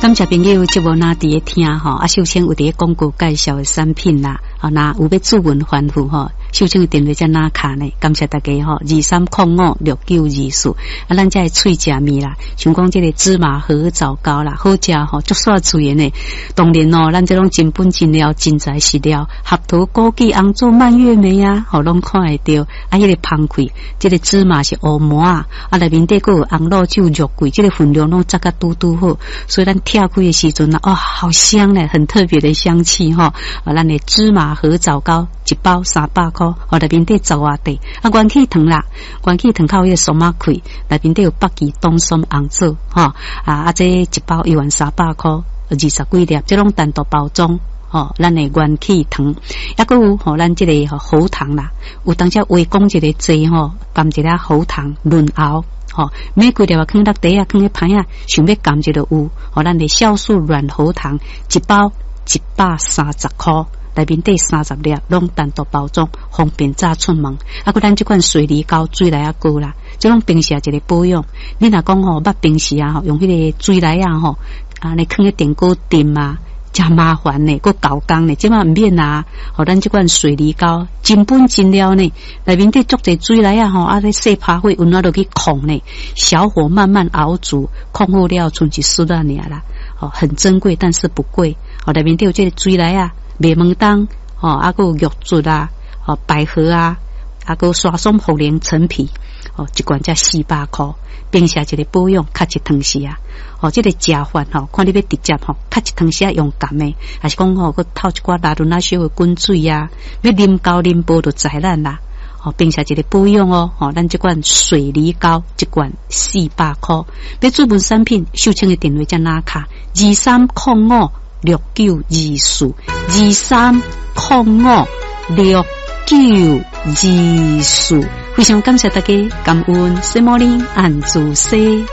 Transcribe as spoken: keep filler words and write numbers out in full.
感謝朋友節目若佇咧聽吼，啊，秀清有佇咧廣告介紹的產品啦，吼，若有欲諮詢反覆吼，秀清的電話遮哪卡呢？感謝大家吼，二三空五六九二四，啊，咱遮的喙食物啦，像講這个芝麻荷棗糕啦，好食吼，足煞喙的呢。當然哦，咱這攏真本真料，真材實料，合桃、枸杞、紅棗、蔓越莓啊，吼，攏看會著。啊，彼个芳氣，這个芝麻是烏麻仔，啊，內面底閣有紅露酒、肉桂，這个分量攏抓甲拄拄好，所以咱拆開的時陣啊，哇，好香咧，很特別的香氣吼。啊，咱的芝麻荷棗糕一包三百箍，哦，內面底十外塊。啊，元氣糖啦，元氣糖較有彼个松仔氣，內面底有北芪、冬筍、紅棗，吼。啊啊，這一包一萬三百箍，二十幾粒，這攏單獨包裝。吼，咱的元氣糖，抑閣有吼，咱這个喉糖啦，有當時話講一个濟吼，含一粒喉糖潤喉。吼，每幾粒啊，囥落袋仔，囥咧盤仔，想欲含一就有。吼，咱的酵素軟喉糖一包一百三十箍，內面底三十粒，攏單獨包裝，方便早出門。啊，閣咱這款水梨膏、水梨仔膏啦，這攏平時一个保養。你若講吼，捌平時啊，吼，用彼个水梨仔吼，啊，你囥咧電鍋炖啊，誠麻煩呢，閣猴工呢，這馬毋免啊。吼，咱這款水梨膏真本真料呢，內面底足濟水梨仔吼，啊，咧細拍火溫暖落去控呢，小火慢慢熬煮，控好了，賰一匙仔爾啦。吼，很珍貴，但是不貴。吼，內面底有這个水梨仔、麥門冬，吼，啊，閣有玉竹啊，吼，百合啊，啊，閣沙松、茯苓、陳皮，吼，一罐才四百箍。平時一个保養，較一湯匙啊。吼，這个食法吼，看你欲直接吼，較一湯匙用含的，還是講吼，閣透一寡拉潤仔小的滾水啊，欲啉膠啉薄就在咱啦。吼，平時一个保養哦，吼，咱這款水梨膏一罐四百箍。欲注文產品，秀清的電話遮哪卡？二三空五六九二四，二三空五六九二四。非常感謝大家，感恩，什麼呢？按住西。